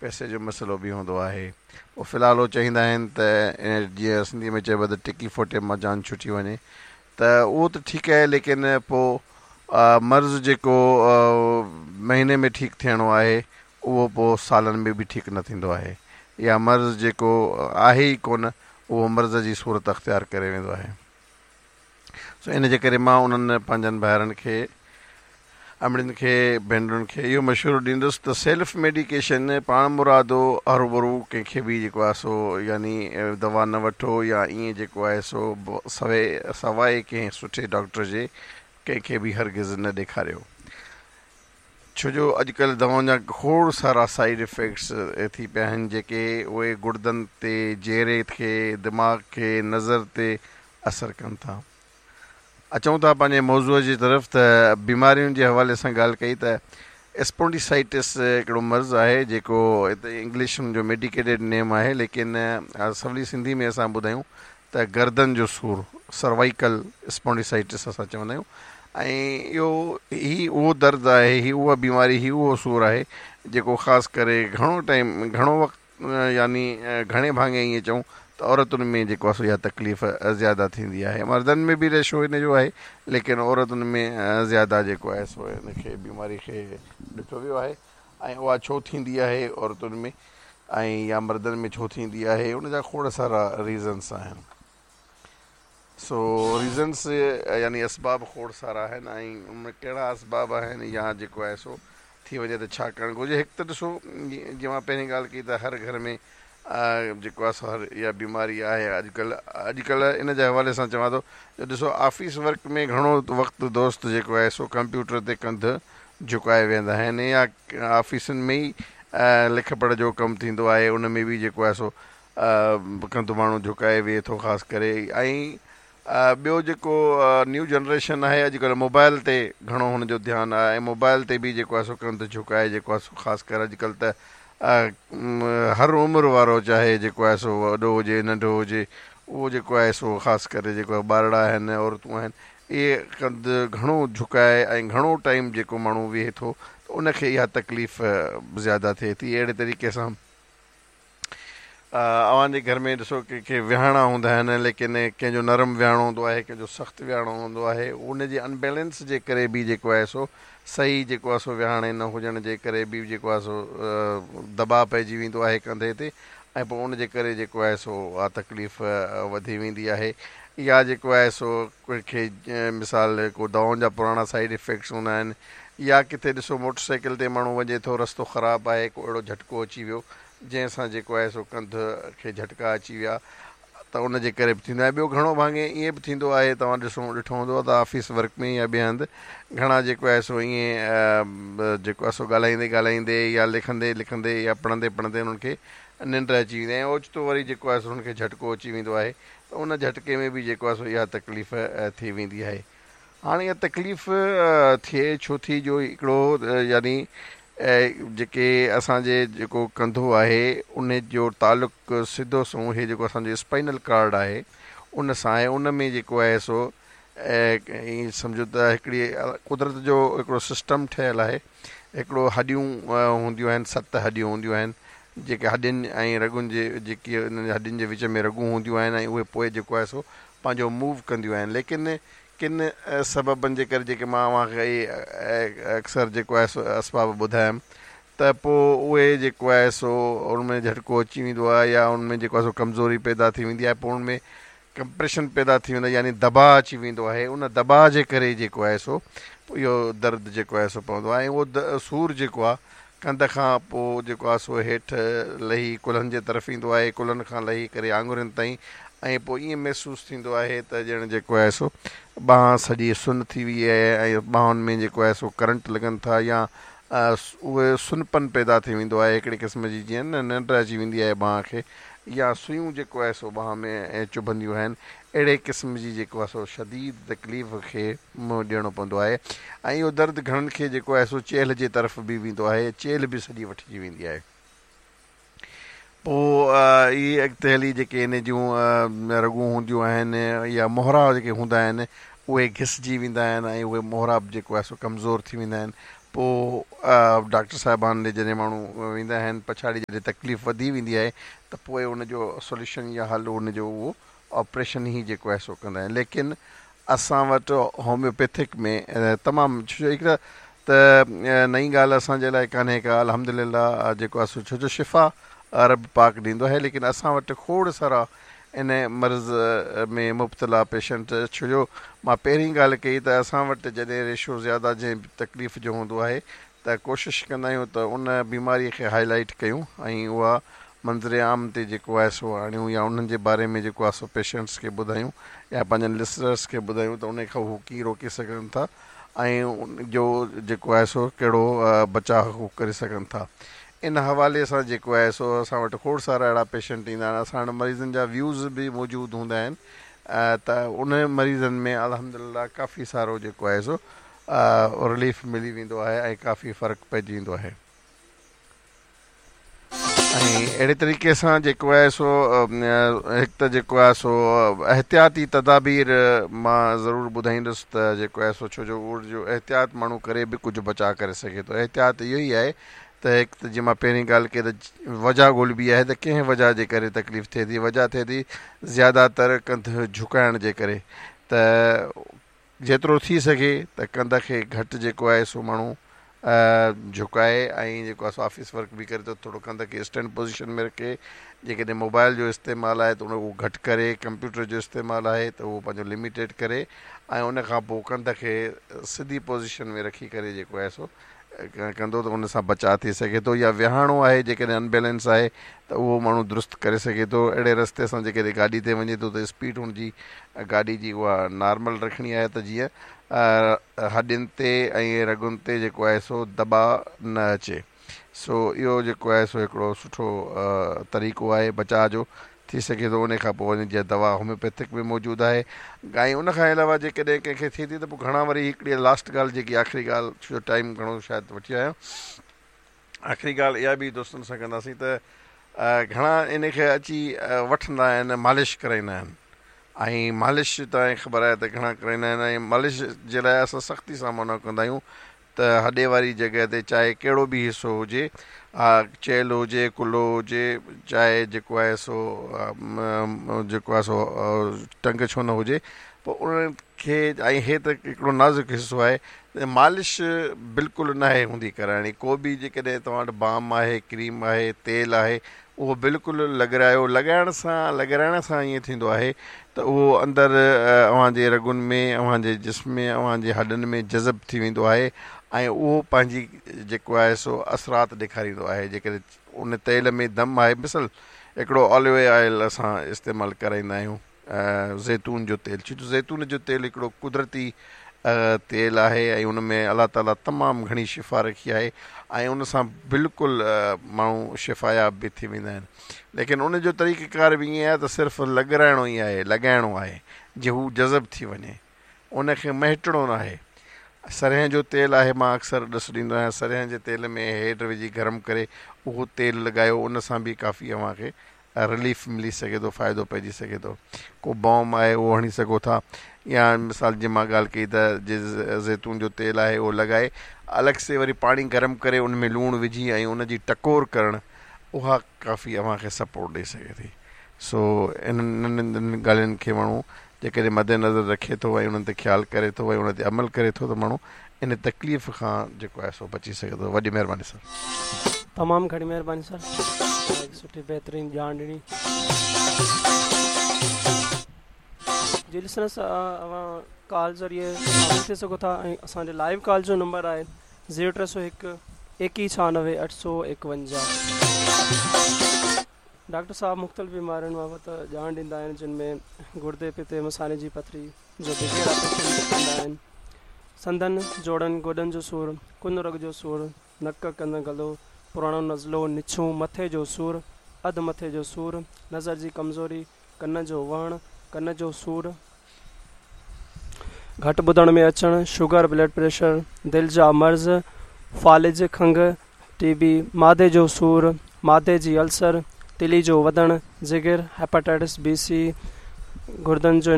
پئسي جو مسئلو به هوندو آهي. پوء في الحال هو چاهيندا آهن ته جيئن سنڌي ۾ چئبو آهي ته ٽڪي ڦوٽي مان جان ڇٽي وڃي ته اهو ته ٺيڪ آهي ليڪن پوء مرض جيڪو مهيني ۾ ٺيڪ ٿيڻو آهي اهو پوء سالن ۾ به ٺيڪ نه ٿيندو آهي يا مرض جيڪو آهي ئي ڪونه اهو مرض جي صورت اختيار ڪري ويندو آهي. سو ان جي ڪري مان انهن پنهنجن ڀائرن کي، امڙين کي، ڀينرن کي اهو مشورو ڏيندس ته سيلف ميڊيڪيشن، پاڻمرادو، هروڀرو ڪنهن کي به جيڪو آهي سو يعني دوا نه وٺو يا ائين جيڪو آهي سو سواء ڪنهن سٺي ڊاڪٽر جي ڪنهن کي به هرگز نه ڏيکاريو. ڇو جو اڄڪلهه دوائن جا کوڙ سارا سائيڊ افيڪٽس ٿي پيا آهن جيڪي اهي گڙدن تي، جيري کي، دماغ کي، نظر تي اثر ڪن ٿا. اچون ٿا پنهنجي موضوع جي طرف ته بيمارين جي حوالي سان ڳالهه ڪئي ته اسپونڊيسائٽس هڪڙو مرض آهي جيڪو انگلش ان جو ميڊيڪيٽيڊ نيم آهي ليڪن سولي سنڌي ۾ اسان ٻڌايون ته گردن جو سور سروائيڪل اسپونڊيسائٽس اسان چوندا آهيون ۽ اهو هي اهو درد آهي هي اها بيماري هي اهو سور آهي جيڪو خاص ڪري گهڻو ٽائيم گهڻو وقت يعني گهڻي ڀاڱي ائين چئون ته عورتن ۾ جيڪو آهي سو اها تڪليف زياده ٿيندي آهي مردن ۾ به ريشو ان جو آهي ليڪن عورتن ۾ زياده جيڪو آهي سو ان کي بيماري کي ڏٺو ويو آهي ۽ اها ڇو ٿيندي آهي عورتن ۾ ۽ يا مردن ۾ ڇو ٿيندي آهي ان جا کوڙ سارا ريزنس آهن. سو ريزنس يعني اسباب کوڙ سارا آهن ۽ ان ۾ ڪهڙا اسباب آهن يا جيڪو آهي سو ٿي وڃي ته ڇا ڪرڻ گهرجي هڪ ته ڏسو جيئن مان پهرين ڳالهه ڪئي ته هر گهر ۾ جيڪو آهي سو هر اها بيماري آهي اڄڪلهه اڄڪلهه ان جي حوالي سان چوان ٿو جو ڏسو آفيس ورڪ ۾ گهڻو وقت دوست جيڪو آهي سو ڪمپيوٽر تي ڪنڌ جهڪائي ويهندا آهن يا آفيسن ۾ ئي لک پڙهه جو ڪم ٿيندو آهي ان ۾ به جيڪو آهي سو ڪنڌ ماڻهو جهڪائي ويهي ٿو خاص ڪري ۽ ٻيو جيڪو نيو جنريشن آهي اڄڪلهه موبائل تي گهڻو هن جو ڌيان آهي ۽ موبائل تي به جيڪو آهي سو ڪنڌ جهڪائي جيڪو آهي سو خاص ڪري اڄڪلهه ته هر عمر وارو چاهي جيڪو آهي سو وڏو هجي ننڍو هجي اهو جيڪو آهي سو خاص ڪري جيڪو ٻارڙا آهن عورتون آهن اهي ڪنڌ گهڻو جهڪائي ۽ گهڻو ٽائيم جيڪو ماڻهو ويهي ٿو ته ان کي اها تڪليف زياده ٿئي ٿي اهڙي طريقي سان اوهان جي گهر ۾ ڏسو ڪي ڪي ويهاڻا هوندا آهن ليڪن ڪنهن جو نرم ويهاڻو هوندو آهي ڪنهن جو سخت ويهاڻو هوندو آهي ان جي انبيلنس جي ڪري به جيڪو آهي سو صحيح جيڪو آهي سو ويهاڻي نه هجڻ جي ڪري به جيڪو آهي سو دٻاء پئجي ويندو آهي ڪنڌي تي ۽ پوء ان جي ڪري جيڪو آهي سو اها تڪليف وڌي ويندي آهي يا جيڪو آهي سو ڪنهن کي مثال ڪو دوائن جا پراڻا سائيڊ افيڪٽس هوندا آهن يا ڪٿي ڏسو موٽر سائيڪل تي ماڻهو وڃي ٿو رستو خراب آهي ڪو اهڙو جهٽڪو اچي ويو جنهن سان جيڪو آهي سو ڪنڌ کي جهٽڪا اچي ويا ته ان جي ڪري به ٿيندو آهي ٻيو گهڻو ڀاڱي ائين به ٿيندو آهي توهان ڏسو ڏٺو هوندو ته آفيس ورڪ ۾ يا ٻئي هنڌ گهڻا جيڪو آهي سو ائين جيڪو آهي سو ڳالهائيندي ڳالهائيندي يا لکندي لکندي يا پڙهندي پڙهندي انهن کي ننڊ اچي ويندي آهي ۽ اوچتو وري جيڪو آهي سو انهن کي جهٽڪو اچي ويندو آهي ته ان جهٽڪي ۾ به جيڪو آهي سو اها تڪليف ٿي ويندي آهي. هاڻي اها تڪليف ٿئي ڇو ٿي جو هڪڙو يعني جيڪي اسان جي جيڪو ڪنڌو آهي ان جو تعلق سڌو سنئون هي جيڪو اسان جو اسپائنل ڪارڊ آهي ان سان آهي ان ۾ جيڪو آهي سو ائين سمجهو ته هڪڙي قدرت جو هڪڙو سسٽم ٺهيل آهي هڪڙو هڏيون هونديون آهن ست هڏيون هونديون آهن جيڪي هڏين ۽ رڳن جي جيڪي انهن هڏين جي وچ ۾ رڳون هونديون آهن ۽ اهي پوء جيڪو آهي سو پنهنجو موو ڪنديون آهن ليڪن ڪن سببن جي ڪري جيڪي مان اوهان کي اڪثر جيڪو آهي سو اسباب ٻڌايم ته پوء اهي جيڪو آهي سو ان ۾ جهٽڪو اچي ويندو آهي يا ان ۾ جيڪو آهي سو ڪمزوري پيدا ٿي ويندي آهي پوء ان ۾ ڪمپريشن پيدا ٿي ويندو آهي يعني دٻاء اچي ويندو آهي ان دٻاء جي ڪري جيڪو آهي سو اهو درد جيڪو آهي سو پوندو آهي ۽ اهو سور جيڪو آهي ڪنڌ کان پوء جيڪو آهي سو هيٺ لهي ڪلهن جي طرف ايندو آهي ڪلهن کان لهي ڪري آڱرين تائين ۽ پوء ائين محسوس ٿيندو آهي ته ڄڻ جيڪو آهي سو ٻانهن سڄي سن ٿي وئي آهي ۽ ٻانهن ۾ جيڪو آهي سو ڪرنٽ لڳن ٿا يا اهي سنپن پيدا ٿي ويندو آهي هڪڙي قسم جي جيئن نه ننڊ اچي ويندي آهي ٻانهن کي يا سيون جيڪو آهي سو ٻانهن ۾ چڀنديون آهن اهڙي قسم جي جيڪو آهي سو شديد تڪليف کي منهن ڏيڻو پوندو آهي ۽ اهو درد گهڻن کي جيڪو آهي سو چيلهه جي طرف به ويندو آهي چيلهه به سڄي وٺجي ويندي آهي پوء اهي اڳتي هلي جيڪي ان جون رڳون هونديون آهن يا مهرا جيڪي هوندا آهن اهي گهسجي ويندا آهن ۽ اهي مهرا به جيڪو آهي سو ڪمزور ٿي ويندا آهن. پوء ڊاڪٽر صاحبان ڏي جڏهن ماڻهو ويندا آهن پڇاڙي جڏهن تڪليف وڌي ويندي آهي ته پوء ان جو سوليوشن يا حل ان جو اهو آپريشن ئي جيڪو آهي سو ڪندا آهن ليڪن اسان وٽ هوميوپيٿڪ ۾ تمام ڇو جو هڪ ته نئين ڳالهه اسان جي لاء ڪانهي ڪا الحمد لله جيڪو آهي سو ڇو جو شفا رب پاڪ ڏيندو آهي ليڪن اسان وٽ کوڙ سارا ان مرض ۾ مبتلا پيشنٽ ڇو جو مان پهرين ڳالهه ڪئي ته اسان وٽ جڏهن ريشو زياده جنهن به تڪليف جو هوندو آهي ته ڪوشش ڪندا آهيون ته ان بيماري کي هائي لائيٽ ڪيون ۽ اها منظر عام تي جيڪو آهي سو آڻيون يا انهن جي باري ۾ جيڪو آهي سو پيشنٽس کي ٻڌايون يا پنهنجن لسنرس کي ٻڌايون ته ان کان هو ڪيئن روڪي سگهن ٿا ۽ ان جو جيڪو آهي سو ڪهڙو بچاء هو ڪري سگهن ٿا. ان حوالي سان جيڪو آهي سو اسان وٽ کوڙ سارا اهڙا پيشنٽ ايندا آهن اسان وٽ مريضن جا ويوز به موجود هوندا آهن ته انهن مريضن ۾ الحمدلله ڪافي سارو جيڪو آهي سو رليف ملي ويندو آهي ۽ ڪافي فرق پئجي ويندو آهي. ۽ اهڙي طريقي سان جيڪو آهي سو هڪ ته جيڪو آهي سو احتياطي تدابير مان ضرور ٻڌائيندس ته جيڪو آهي سو ڇو جو اهو جو احتياط ماڻهو ڪري به ڪجهه بچاء ڪري سگهي ٿو احتياط اهو ئي آهي ته هڪ ته جيئن مان پهرين ڳالهه ڪئي ته وجهه ڳولبي آهي ته ڪنهن وجهه جي ڪري تڪليف ٿئي ٿي وجهه ٿئي ٿي زياده تر ڪنڌ جهڪائڻ جي ڪري ته جيترو ٿي سگهي ته ڪنڌ کي گهٽ جيڪو آهي سو ماڻهو جهڪائي ۽ جيڪو آهي سو آفيس ورڪ به ڪري ته ٿورو ڪنڌ کي اسٽينڊ پوزيشن ۾ رکي جيڪڏهن موبائل جو استعمال آهي ته ان کي گهٽ ڪري ڪمپيوٽر جو استعمال آهي ته اهو پنهنجو لميٽيڊ ڪري ۽ ان کان پوء ڪنڌ کي سڌي پوزيشن ۾ رکي ڪري جيڪو آهي سو ڪندو ته ان سان بچاء ٿي سگهي ٿو يا ويهاڻو آهي جيڪڏهن ان بيلنس آهي ته اهو ماڻهو درست ڪري سگهي ٿو اهڙي رستي سان جيڪڏهن گاڏي تي وڃي ٿو ته اسپيڊ هن جي گاڏي جي اها نارمل رکڻي آهي ته جيئن هڏين تي ۽ رڳن تي جيڪو آهي سو دٻاء نه اچي سو اهو جيڪو آهي سو هڪڙو سٺو طريقو آهي بچاء جو ٿي سگهي ٿو انهي کان پوء ان جي دوا هوميوپيٿڪ به موجود آهي ۽ ان کان علاوه جيڪڏهن ڪنهن کي ٿئي ٿي ته پوء گهڻا وري هڪڙي لاسٽ ڳالهه جيڪي آخري ڳالهه ڇو جو ٽائيم گهڻو شايد وٺي آيو آخري ڳالهه اها به دوستن سان ڪنداسين ته گهڻا ان کي اچي وٺندا آهن مالش ڪرائيندا آهن ۽ مالش توهان کي خبر آهي ته گهڻا ڪرائيندا آهن ۽ مالش جي لاء اسان سختي سان منع ڪندا آهيون ته هڏي واري جڳهه تي چاهي ڪهڙو به حصو هجي، چيلهه هجي، ڪلهو هجي، چاهي جيڪو آهي سو جيڪو آهي سو ٽنگ ڇو نه هجي پوء انهن کي ۽ هي ته هڪڙو نازڪ حصو آهي ته مالش بلڪل ناهي هوندي ڪرائڻي ڪو به جيڪڏهن توهان وٽ بام آهي ڪريم آهي تيل آهي اهو بلڪل لڳرايو لڳائڻ سان لڳرائڻ سان ائين ٿيندو آهي ته اهو اندر اوهان جي رڳن ۾ اوهان جي جسم ۾ اوهان جي هڏن ۾ جذب ٿي ويندو آهي ۽ اهو پنهنجي جيڪو آهي سو اثرات ڏيکاريندو آهي جيڪڏهن ان تيل ۾ دم آهي مثال هڪڙو آليو آئل اسان استعمال ڪرائيندا آهيون زيتون جو تيل ڇو جو زيتون جو تيل هڪڙو قدرتي تيل آهي ۽ ان ۾ الله تعالي تمام گهڻي شفا رکي آهي ۽ ان سان بلڪل ماڻهو شفاياب به ٿي ويندا آهن ليڪن ان جو طريقه ڪار به ائين آهي ته صرف لڳرائڻو ئي آهي لڳائڻو آهي جي هو جذب ٿي وڃي ان کي مهٽڻو ناهي سرنهن جو تيل آهي مان اڪثر ڏس ڏيندو آهيان سرنهن جي تيل ۾ هيڊ وجهي گرم ڪري اهو تيل لڳايو ان سان به ڪافي اوهان کي رليف ملي سگهي ٿو فائدو پئجي سگهي ٿو ڪو بام آهي اهو هڻي سگهو ٿا يا مثال جي مان ڳالهه ڪئي ته جي زيتون جو تيل آهي اهو لڳائي الڳ سي وري پاڻي گرم ڪري ان ۾ لوڻ وجهي ۽ ان جي ٽڪور ڪرڻ اها ڪافي اوهان کي سپورٽ ڏئي سگهي ٿي سو انهن ننڍين ننڍين ڳالهين کي ماڻهو جيڪڏهن مد نظر رکي ٿو ۽ انهن تي خيال ڪري ٿو ۽ ان تي عمل ڪري ٿو ته ماڻهو ان تڪليف کان جيڪو آهي سو بچي سگهي ٿو. وڏي مهرباني سر. تمام گهڻي مهرباني سر اوهان هڪ سٺي بهترين ڄاڻ ڏني. جي لسنرس اوهان ڪال ذريعي شامل ٿي سگهو ٿا ۽ اسان جي لائيو ڪال جو نمبر آهي زيرو 301 21 96 851. ڊاڪٽر صاحب مختلف بيمارين بابت ڄاڻ ڏيندا آهن جن ۾ گردي پتي مثاني جي پٿري جو بغير آپريشن ڪندا آهن سنڌن جوڙن گوڏن جو سور ڪن رڳ جو سور نڪ ڪن گلو پراڻو نزلو نڇون مٿي جو سور اڌ مٿي جو سور نظر جي ڪمزوري ڪن جو وهڻ ڪن جو سور گهٽ ٻڌڻ ۾ اچڻ شگر بلڊ پريشر دل جا مرض فالج کنگهه ٽي بي، معدي جو سور، معدي جي السر، تلي جو وڌڻ، جگر، هيپاٽائٽس بي سي، گردن جو.